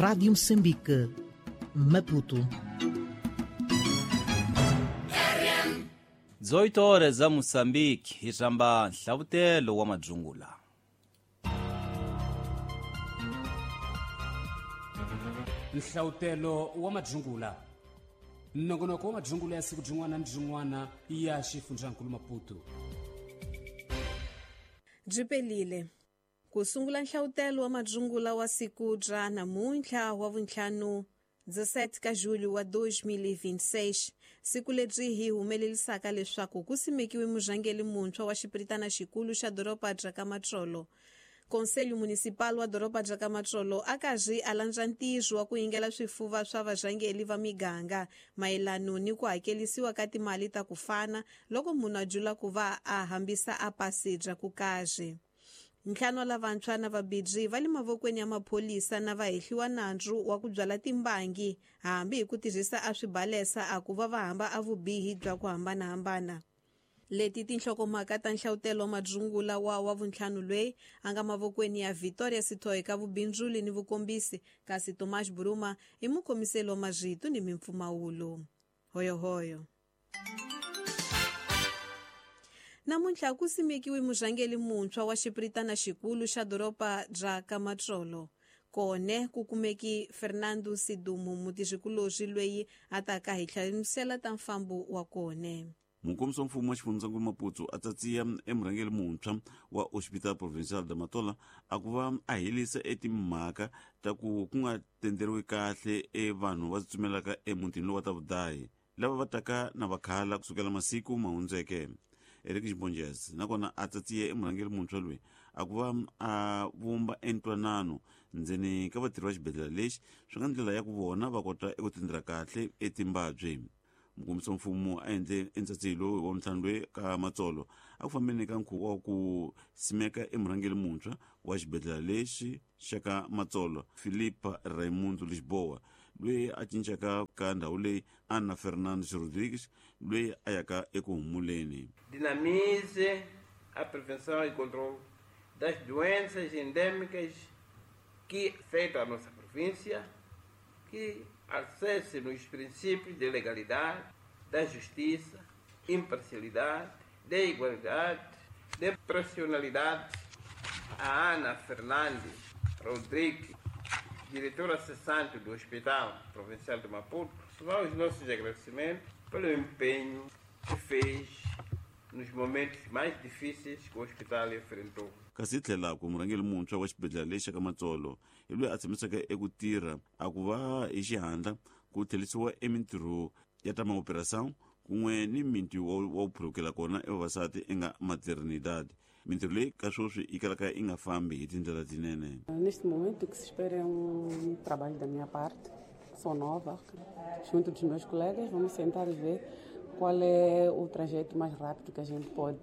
Rádio Moçambique, Maputo. 18 horas za Moçambique, hi rhamba nhlavutelo wa madzungula. Nhlavutelo wa madzungula. Nongonoko wa madzungula ya siku rin'wana ni rin'wana ya xifundzankulu Maputo. Byi pelile. Ku sungula nhlavutelo wa madzungula wa siku ra namuntlha wa vuntlhanu 17 ka julho wa 2026, siku lebyi hi humelelisaka leswaku ku simekiwe murhangeri muntshwa wa xipiritana xikulu xa doroba bya ka Matsolo. Conselho Municipal wa doroba bya ka Matsolo a karhi a landza ntirho wa ku yingela swifuva swa varhangeri va miganga mayelano ni ku hakelisiwa ka timali ta ku fana loko munhu a jula ku va a hambisa a pasi bya ku karhi. Ntlhanu wa lavantshwa na vabidzi va le mavokweni ya mapholisa na va hehliwa nandzu wa ku byala timbangi hambi hi ku tirhisa a swibalesa a ku va va hamba a vubihi bya ku hambanahambana. Leti tinhlokomhaka ta nhlavutelo wa madzungula wa vuntlhanu loyi a nga mavokweni ya Victoria Sithoyi ka vubindzuli ni vukombisi, kasi Tomás Buruma i mukhomiseli wa marito ni mimpfumawulo. Hoyohoyo. Namuntlha ku simekiwe murhangeri muntshwa wa xipiritana xikulu xa doroba bya ka Matsolo. Kone ku kumeki Fernando Sidumo mutirhikulorhi loyi a taka hi hlamusela ta mfambo wa kone. Mukombisi wa mfumo wa xifundzankulu Maputo a tsatsiya emurhangeri muntshwa wa Hospital Provincial de Matola a ku va a helisa etimhaka ta ku ku nga tenderiwi kahle e vanhu va tsutsumelaka emutini lowu wa ta vudahi lava va taka na vakhala kusukela masiku ma hundzeke. Eric Xibonjez nakona a tsatsiye emurhangeri muntshwa loyi a ku va a vumba entwanano ndzeni ka vatirhi va xibedhlele lexi swi nga ndlela ya ku vona va kota eku tendela kahle etimbabyi. Mukombisi wa mfumo a endle entsatsihi lowu wa ntlhanu loyi ka Matsolo a ku fambeni ka nkhuvo wa ku simeka emurhangeri muntshwa wa xibedhlele lexi xa ka Matsolo Filipa Raimundo Lisboa loyi a cincaka ka ndhawu leyi Ana Fernandes Rodrigues loyi a yaka eku humuleni. Dinamize a prevenção e controle das doenças endêmicas que afetam a nossa província, que acesse nos princípios de legalidade, da justiça, imparcialidade, de igualdade, de profissionalidade. A Ana Fernandes Rodrigues, diretora cessante do Hospital Provincial de Maputo, vão os nossos agradecimentos pelo empenho que fez nos momentos mais difíceis que o hospital enfrentou. Kasi tlhela ku murhangeri muntshwa wa xibedhlele lexi ka Matsolo hi loyi a tshamisaka eku tirha a ku va hi xihatla ku tlherisiwa emintirho ya ta maoperação kun'we ni miti wa ku phulukela kona evavasati enga maternidade. Mintirho leyi ka sweswi yi kalaka yi nga fambi hi tindlela tinene. Neste momento o que se espera é trabalho da minha parte. Sou nova, junto dos meus colegas vamos sentar e ver qual é o trajeto mais rápido que a gente pode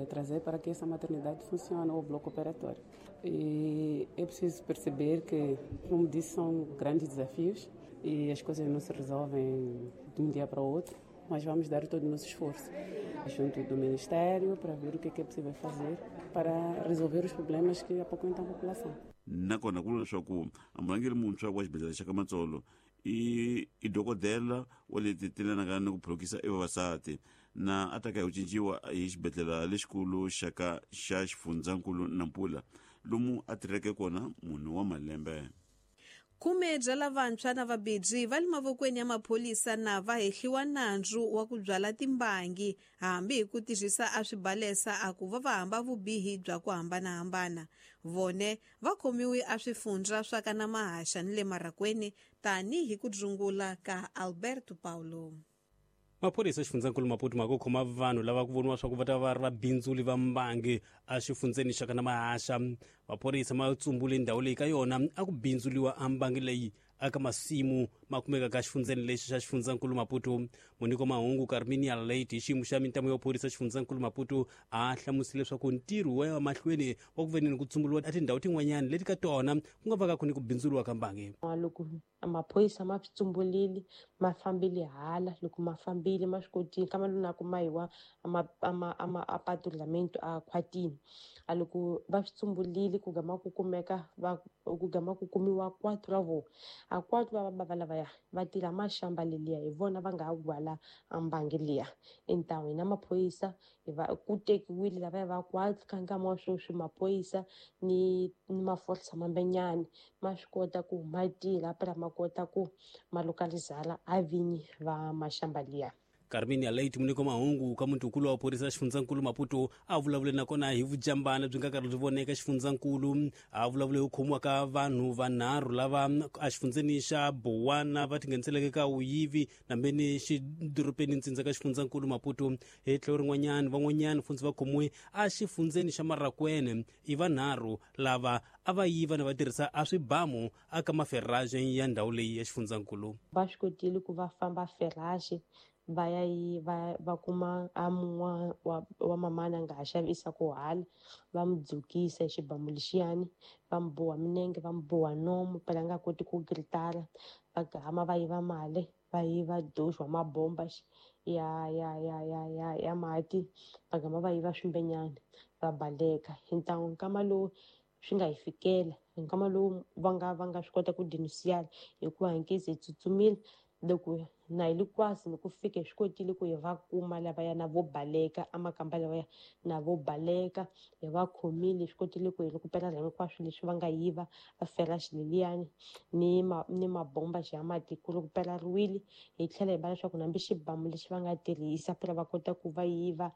trazer para que essa maternidade funcione, ou o bloco operatório. E é preciso perceber que, como disse, são grandes desafios e as coisas não se resolvem de um dia para o outro, mas vamos dar todo o nosso esforço junto do Ministério para ver o que é possível fazer para resolver os problemas que apoquentam a população. Nakona ku vula leswaku murhangeri muntshwa wa xibedhlele xa ka Matsolo i dokodela wa leti tilanaka ni ku phulukisa evavasati na a taka hi ku cinciwa hi xibedhlele lexikulu xa ka xa xifundzankulu Nampula lomu a tirheke kona munhu wa malembe. Khume bya lavantshwa na vabidzi va le mavokweni ya mapholisa na va hehliwa nandzu wa ku byala timbangi hambi hi ku tirhisa a swibalesa a ku va va hamba vubihi bya ku hambanahambana. Vone va khomiwe a swifundza swa ka na mahaxa ni le marakweni tanihi ku dzungula ka Alberto Paulo. Maphorisa xifundzankulu Maputo ma ku khoma vanhu lava ku voniwa swa ku va ta va ri vabindzuli va mbangi exifundzeni xa ka na mahaxa. Maphorisa ma tsumbule ndhawu leyi ka yona a ku bindzuliwa a mbangi leyi aka masimu ma kumekaka exifundzeni lexi xa xifundzankulu Maputo. Munyiko mahungu Carminia Late hi xiyimo xa mintamu ya phorisa xifundzankulu Maputo a hlamusile leswaku ntirho wa ya mahlweni wa ku veneni ku tsumburiwa a tindhawu tin'wanyana leti ka tona ku nga vaka ku ni ku bindzuriwa ka mbangi. Loko maphorisa ma swi tsumbulile ma fambile hala, loko ma fambile ma swi kotile ka maluna ku mahiwa a patrulhamento a khwatini. A loko va swi tsumbulile ku gama ku kumeka va ku gama ku kumiwa 4 ra vona. A 4 va bava lavaya va tirha maxamba leliya, hi vona va nga gwala ambangi liya. Entan'wini na maphorisa hi va ku tekiwile lavaya va 4 ka nkama wa sweswi maphorisa ni maforsa mambenyani ma swi kota ku ma tirha phela ma kota ku ma lokalizala a vinyi va maxamba liya. Carminia Leite muniko mahungu ka mutukulu wa phorisa xifundzankulu Maputo a vulavule nakona hi vujambana byi nga karhi byi voneka xifundzankulu. A vulavule hi ku khomiwa ka vanhu vanharhu lava exifundzeni xa Bowana va tingheniseleke ka vuyivi nambeni xidorobeni ntsindza ka xifundzankulu Maputo. Hi tlhelo rin'wanyana van'wanyana funtsi va khomiwe exifundzeni xa Marakwene, i vanharhu lava a va yiva na va tirhisa a swibamu aka maferraje ya ndhawu leyi ya xifundzankulu. Va swi kotile ku va famba ferraje va ya yi va kuma a mun'wa wa mamana nga ha xavisa ku hala, va mu dzukisa hi xibamu lexiyani, va mu boha minenge, va mu boha nomu phela a nga koti ku gritara, va gama va yiva mali, va yiva doxo wa mabomba ya ya ya ya ya ya mati, va gama va yiva swimbenyana va baleka. Hi ntangu nkama lowu swi nga hi fikela, hi nkama lowu va nga swi kota ku denunciar hikuva hi nkezi hi tsutsumile. Loko na hi le kwasi loko fika hi swi kotile ku hi va kuma lavaya na vo baleka amakamba lavaya na vo baleka, hi va khomile, hi swi kotile ku hi rekupela hinkwaswo leswi va nga yiva a feraxi leliyani ni mabomba ya mati ku rekupelariwile. Hi tlhela hi va leswaku nambi xibamu lexi va nga tirhisa phela va kota ku va yiva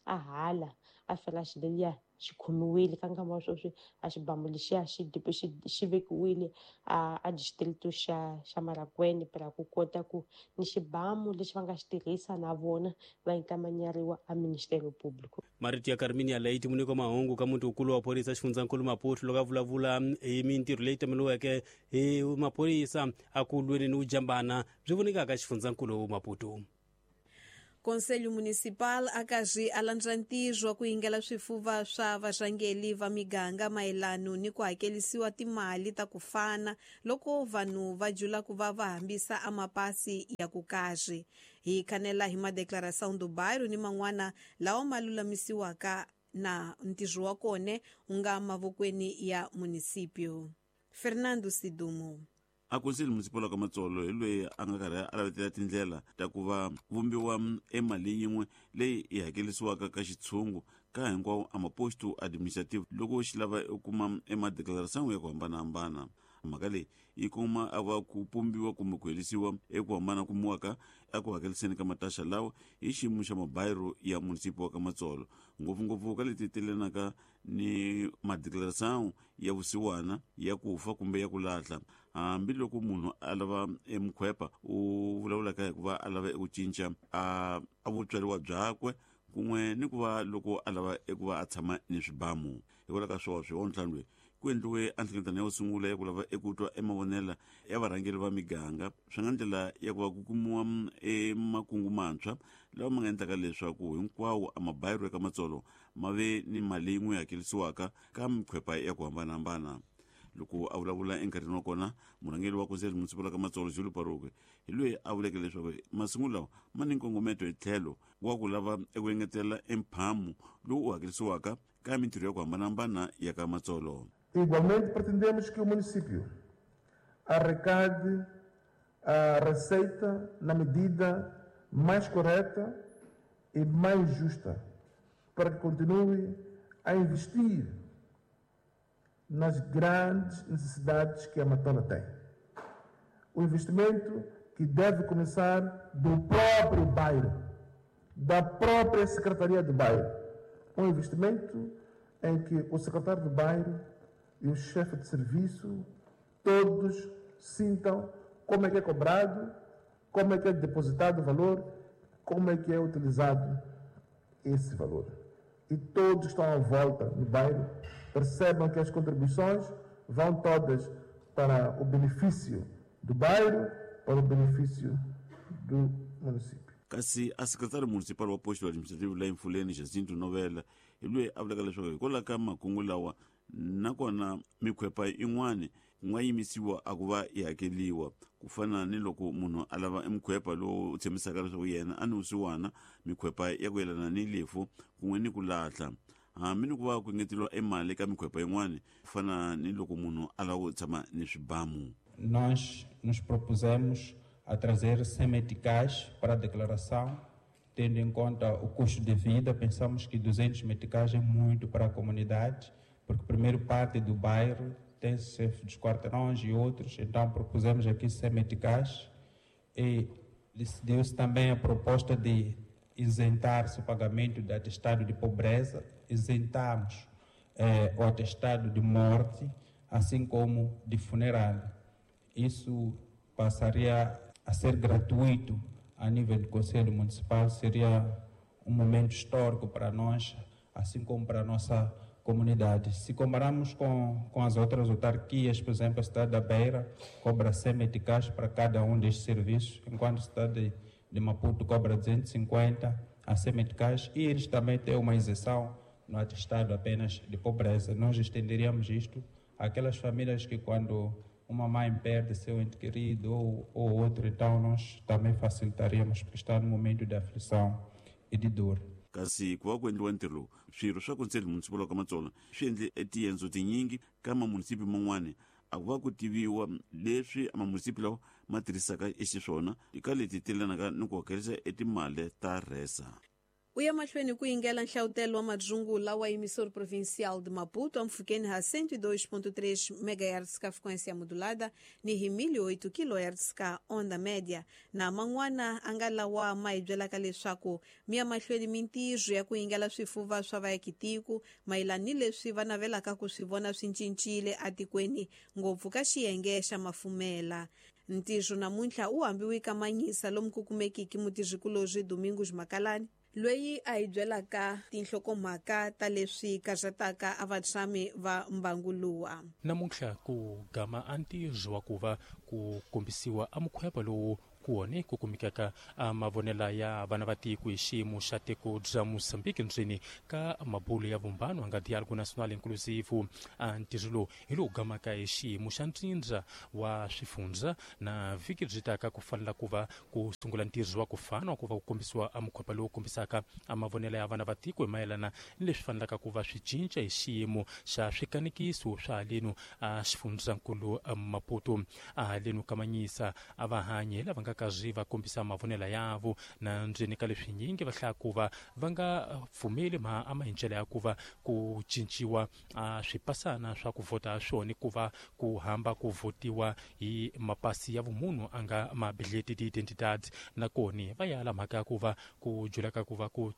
a hala a feraxi leliya xi khomiwile. Ka nkama wa sweswi a xibamu lexiya xi vekiwile a district xa Marakwene phela ku kota ku ni xibamu lexi va nga xi tirhisa na vona va inkamanyariwa a Ministério Público. Marito ya Carminia Leite muniko mahungu ka mutukulu wa phorisa xifundzankulu Maputo loko a vulavula hi mintirho leyi tameliweke hi maphorisa a ku lweni ni vujambana byi vonekaka xifundzankulu Maputo. Conselho Municipal akazi alandza ntirho wa ku yingela swifuva swa varhangeli va miganga mayelano ni ku hakelisiwa timali ta ku fana loko vanhu va jula ku va va hambisa amapasi ya ku karhi. Hi khanela hi madeclaração do bairro ni man'wana lawa ma lulamisiwaka na ntirho wa kona wu nga mavokweni ya municipio. Fernando Sidumo. A Conselho Municipal ka Matsolo hi loyi a nga karhi a lavetela tindlela ta ku va vumbiwa emali yin'we leyi yi hakelisiwaka ka xitshungu ka hinkwawo a maposto administrative loko xi lava u kuma emadeclaração ya ku hambanahambana. Mhaka leyi yi kuma a va ku pumbiwa kumbe ku herisiwa eku hambana kumiwaka eku hakeliseni ka mataxa lawa hi xiyimo xa mabayiro ya munisipi wa ka Matsolo, ngopfungopfu ka leti telenaka ni madeclaração ya vusiwana, ya ku fa kumbe ya ku lahla. Hambiloko munhu a lava emukhwepa u vulavulaka hi ku va a lava eku cinca a vutswariwa byakwe kun'we ni ku va loko a lava eku va a tshama ni swibamu. Hikwalaho ka swoswo wa ntlhanu loyi ku endliwe a nhlengeletano ya ku sungula ya ku lava eku twa emavonela ya varhangeri va miganga swi nga ndlela ya ku va ku kumiwa emakungu mantshwa lawa ma nga endlaka leswaku hinkwawo a mabayiro eka Matsolo ma ve ni mali yin'we hakelisiwaka ka mikhwepa ya ku hambanahambana. Loko a vulavula enkarhini wa kona murhangeri wa Conselho Municipal ka Matsolo Julio Paroque hi loyi a vuleke leswaku masungulo lawa ma ni nkongometo hi tlhelo wa ku lava eku engetela emphamu lowu u hakelisiwaka ka mintirho ya ku hambanahambana ya ka Matsolo. Igualmente pretendemos que o município arrecade a receita na medida mais correta e mais justa para que continue a investir nas grandes necessidades que a Matola tem. O investimento que deve começar do próprio bairro, da própria Secretaria do Bairro. Um investimento em que o secretário do bairro e o chefe de serviço, todos sintam como é que é cobrado, como é que é depositado o valor, como é que é utilizado esse valor. E todos estão à volta no bairro, percebam que as contribuições vão todas para o benefício do bairro, para o benefício do município. Kasi a secretário municipal wa posto administrativo la Mfuleni Jacinto Novela hi loyi a vulaka leswaku hikwalaho ka makungu lawa nakona mikhwepa yin'wani ku nga yimisiwa a ku va yi hakeliwa ku fana ni loko munhu a lava emukhwepa lowu tshembisaka leswaku yena a ni vusiwana mikhwepa ya ku yelana ni lefu kun'we ni ku lahla. Hambi ni ku va ku engeteriwa emali eka mikhwepa yin'wani, ku fana ni loko munhu a lava ku tshama ni swibamu. Nós nos propusemos a trazer 100 meticais para a declaração, tendo em conta o custo de vida, pensamos que 200 meticais é muito para a comunidade, porque primeiro parte do bairro tem chefe dos quarteirões e outros, então propusemos aqui 100 meticais e decidiu-se também a proposta de isentar-se o pagamento de atestado de pobreza, isentamos o atestado de morte, assim como de funeral. Isso passaria a ser gratuito a nível do Conselho Municipal, seria um momento histórico para nós, assim como para a nossa comunidade. Se compararmos com as outras autarquias, por exemplo, a cidade da Beira cobra 100 meticais para cada um destes serviços, enquanto a cidade de Maputo cobra 250 a 100 meticais, e eles também têm uma isenção no atestado apenas de pobreza. Nós estenderíamos isto àquelas famílias que, quando uma mãe perde seu ente querido ou outro, então nós também facilitaríamos, porque está no momento de aflição e de dor. Kasi ku va ku endliwa ntirho lowu, swirho swa Conselho Municipal wa ka Matsolo swi endle tiendzo tinyingi ka mamunisipi man'wani, a ku va ku tiviwa leswi mamunisipi lawa ma tirhisaka exiswona eka leti telanaka ni ku hakerisa etimali ta resa. U ya mahlweni ku yingela nhlavutelo wa madzungula wa emissor provincial de Maputo ampfhukeni ha 102.3 MHz ka frequência modulada ni hi 1008 kHz ka onda média. Na man'wana a nga lawa ma hi byelaka leswaku mi ya mahlweni mintirho ya ku yingela swifuva swa vaakitiko mayelana ni leswi va navelaka ku swi vona swi cincile atikweni, ngopfu ka xiyenge xa mafumela. Ntirho namuntlha u hambiwe ka Manyisa lomu ku kumekiki mutirhikulorhi Domingos Makalani, loyi a hi byelaka tinhlokomhaka ta leswi karhataka a vatshami va Mbanguluwa. Namuntlha ku gama a ntirho wa ku va ku kombisiwa a mukhwepa lowu kuone ku kumekaka a mavonela ya vana va tiko hi xiyimo xa tiko bya Mozambique ndzeni ka mabulo ya vumbano nga Diálogo Nacional Inclusivo. A ntirho lowu hi lowu gamaka hi xiyimo xa ntsindza wa swifundza na vhiki byi taka ku fanela ku va ku sungula ntirho wa ku fana wa ku va ku kombisiwa a mukhwepa lowu kombisaka a mavonela ya vana va tiko hi mayelana ni leswi fanelaka ku va swi cinca hi xiyimo xa swikanekiso swa halenu a xifundzankulu Maputo. A halenu ka Manyisa a va hanyi lava nga kazi va kombisa mavonela yavo na ndzeni ka leswi nyingi va hlaya ku va va nga pfumeli ma ama hi ndlela ya ku va ku cinciwa a swipasana swa ku vhota swona, ku va ku hamba ku votiwa hi mapasi ya vumunhu a nga mabileti ti-identidad. Nakona va yala mhaka ya ku va ku julaka ku va ku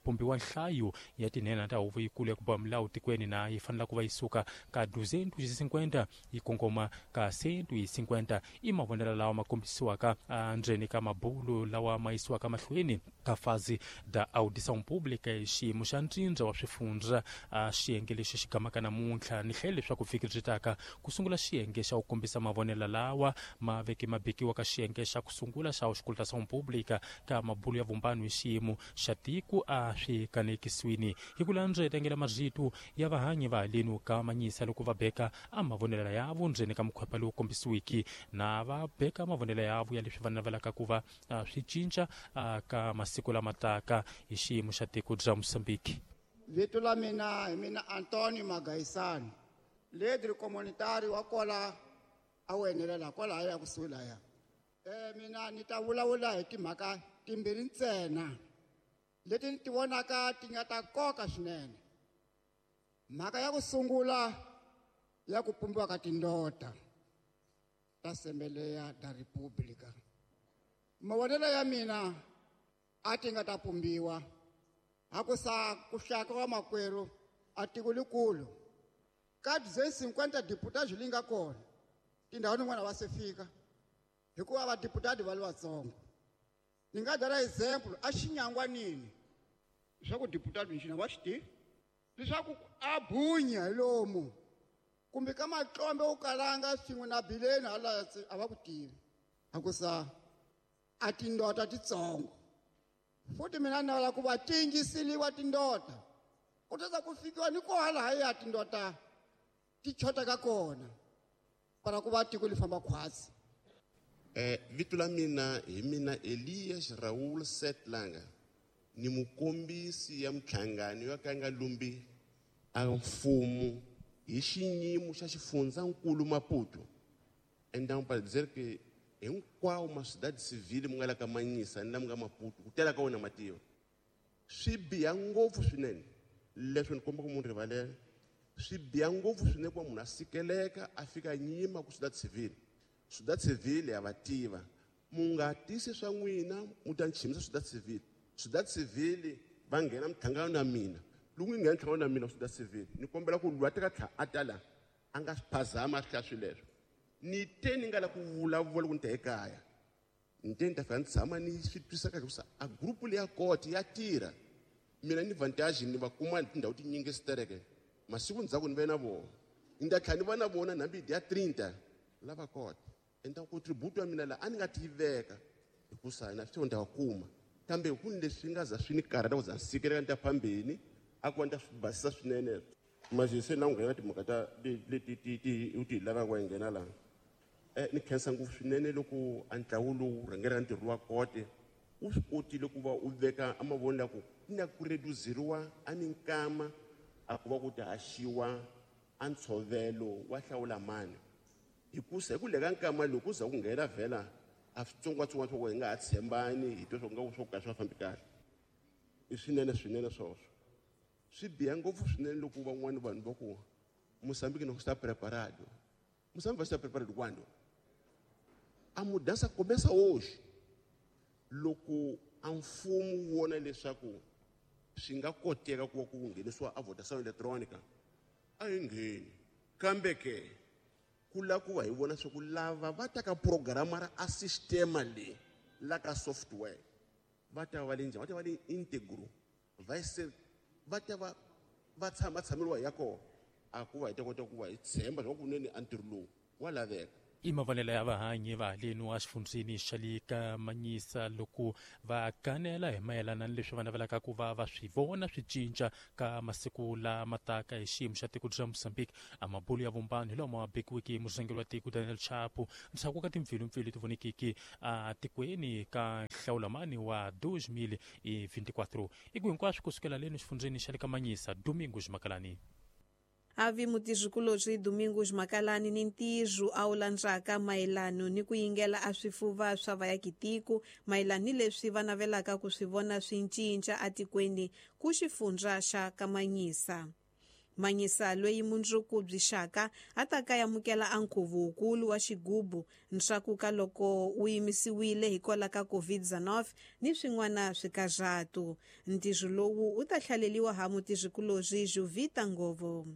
pumbiwa nhlayo ya tinhenha ta huvo yikulu ya ku boha milawu tikweni, na yi fanela ku va yi suka ka 250 yi kongoma ka 150. I mavonelo lawa ma kombisiwaka ndzeni ka mabulo lawa ma yisiwaka mahlweni ka fase da audição pública hi xiyimo xa ntsindza wa swifundza a xiyenge lexi xi gamaka namuntlha. Ni hlayile leswaku vhiki byi taka ku sungula xiyenge xa ku kombisa mavonelo lawa ma veke ma bekiwa ka xiyenge xa ku sungula xa auscultação pública ka mabulo ya vumbano hi xiyimo xa tiko a swi kanekisiwini. Hi ku landza tengela marito ya vahanyi va halenu ka Manyisa loko va beka a mavonelo yavo ndzeni ka mukhwepa lowu kombisiwiki, na va beka mavonelo yavo ya leswi va navelaka ku va swi cinca ka masiku lama taka hi xiyimo xa tiko bya Mozambique. Vito la mina hi mina Antonio Magaisani, leader communitary wa kwala a wu enelela kwalaya kusuhi laya. Mina ni ta vulavula hi timhaka timbirhi ntsena leti ni ti vonaka ti nga ta nkoka swinene. Mhaka ya ku sungula ya ku pumbiwa ka tindota ta Assembleia da República. Mavonelo ya mina a ti nga ta pumbiwa hakusa ku hlaka wa makwerhu a tiko likulu ka 250 deputados li nga kona tindhawu tin'wana va se fika hikuva vadeputati va li vatsongo. Ni nga byala example a xinyangwanini leswaku deputado nxina va xi tivi leswaku a bunya hi lomu kumbe ka matlombe wu kalanga swin'we na bileni hala a va ku tivi hakusa a tindota titsongo. Futhi mina ni navela ku va tingisiliwa tindota ku tata ku fikiwa ni ko halahaya tindota ti chotaka kona para ku va tiko li famba khwatsi. Vito la mina hi mina Elias Raul Setlanga, ni mukombisi ya mhlangano ya ka nga lumbi A mfumo hi xiyimo xa xifundzankulu Maputo. Então para dizer que hinkwawo ma sociedade civile mi nga la ka Manyisa ni la mi nga Maputo ku tela ka wona mativa swi biha ngopfu swinene leswi ni komba ku munhu rivalela swi biha ngopfu swinene ku va munhu a sikeleka a fika nyima ku sociedade civile. Sociedade civile ya va tiva mu nga tisi swa n'wina mu ta ni chimisa sociedade civile. Sociedade civile va nghena minhlangano na mina loko yi nghena nhlangano na mina sociedade civile ni kombela ku lwa teka tlha a ta la a nga swi phazama a swi hlaya swilo leswo. Ni te ni nga la ku vulavula ku ni ta ekaya ni te ni ta fika ni tshama ni swi twisa kahle ku sa a group leya koti ya tirha mina ni vantage ni va kuma tindhawu tinyingi sitereke masiku ndzhaku ni ve na vona ni ta tlhela ni va na vona hambi ya 30 lava kota enta contribute ya mina la a ni nga ti veka hikusa na swi ni ta va kuma kambe ku ni leswi nga za swi ni karhata ku za ni sikeleka ni ta phambeni a ku va ni ta swi basisa swinene manje se na ku nghena timhaka ta leti ti u ti lavaka ku nghena laha. Ni khensa ngopfu swinene loko a ntlawa lowu rhangelaka ntirho wa kote wu swi kotile ku va u veka a mavoni la ku na ku reduzeriwa a minkama a ku va ku ta haxiwa a ntshovelo wa hlawula mani hikusa hi ku leka nkama loku ku za ku nghena vhela a switsongwatsongwana swa ku hi nga ha tshembani hi twa swa ku nga swo ka swi nga fambi kahle i swinene swinene swoswo swi biha ngopfu swinene loko van'wani vanhu va ku Moçambique não está preparado. Moçambique vai estar preparado quando? A mudança começa hoje. Loko a mfumo wu vona leswaku swi nga koteka ku va ku nghenisiwa a votação eletrônica a yi ngheni kambe ke ku lava ku va hi vona swa ku lava va ta ka programa ra a sistema leyi la ka software va ta va le njhani va ta va le integro vai ser va ta va va tshama tshameriwa ya kona a ku va hi ta kota ku va hi tshemba swa kunene a ntirho lowu wa laveka. I mavonelo ya vahanyi va haleni wa xifundzeni xa le ka Manyisa loko va kanela hi mayelana ni leswi va navelaka ku va va swi vona swi cinca ka masiku lama taka hi xiyimo xa tiko bya Mozambique. A mabulo ya vumbano hi lama bekiweke hi murhangeri wa tiko Daniel Chapo ndzhaku ka timpfilumpfilu leti vonekeke a tikweni ka nhlawulamani wa 2024 i ku hinkwaswo kusukela leni xifundzeni xa le ka Manyisa. Domingos Makalani. Avi mutizvikulobyi Domingos Makalani ni ntirho a wu landzaka mayelano ni ku yingela a swifuva swa vayakitiko mayelano ni leswi va navelaka ku swi vona swi cinca atikweni ku xifundza xa Kamanyisa. Manyisa loyi mundzuku byi xaka a ta ka amukela a nkhuvo wukulu wa xigubu ntshaku ka loko wu yimisiwile hikwalaho ka COVID-19 ni swin'wana swikarhatu. Ntirho lowu wu ta hlaleliwa ha mutizvikulobyi Jovita Ngovo.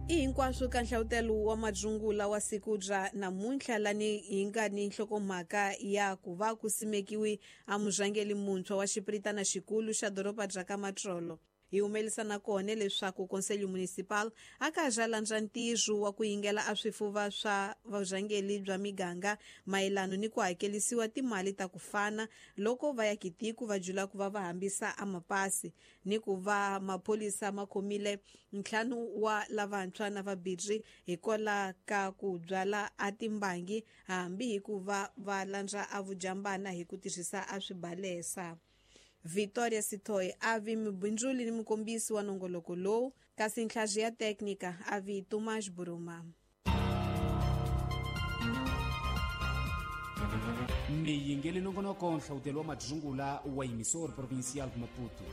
I hinkwaswo ka nhlawutelo wa madzungula wa siku bya namuntlha lani hi nga ni nhlokomhaka ya ku va ku simekiwi a murhangeri muntshwa wa xipiritana xikulu xa doroba bya ka Matsolo. Hi humelisana kona leswaku Conselho Municipal a ka ha landza ntirho wa ku yingela a swifuva swa vurhangeri bya miganga mayelano ni ku hakelisiwa timali ta ku fana loko va ya kitiku va jula ku va va hambisa a mapasi ni ku va maphorisa ma khomile ntlhanu wa lavantshwa na vabirhi hikwalaho ka ku byala a timbangi hambi hi ku va va landza a vujambana hi ku tirhisa a swibalesa. Victoria Sitoy avi mubindzuli ni mukombisi wa nongoloko lowu kasi nhlazi ya teknika avi Tomás Buruma. Miyingeli nongonoko nhlawutelo wa madzungula wa Emissor Provincial de Maputo.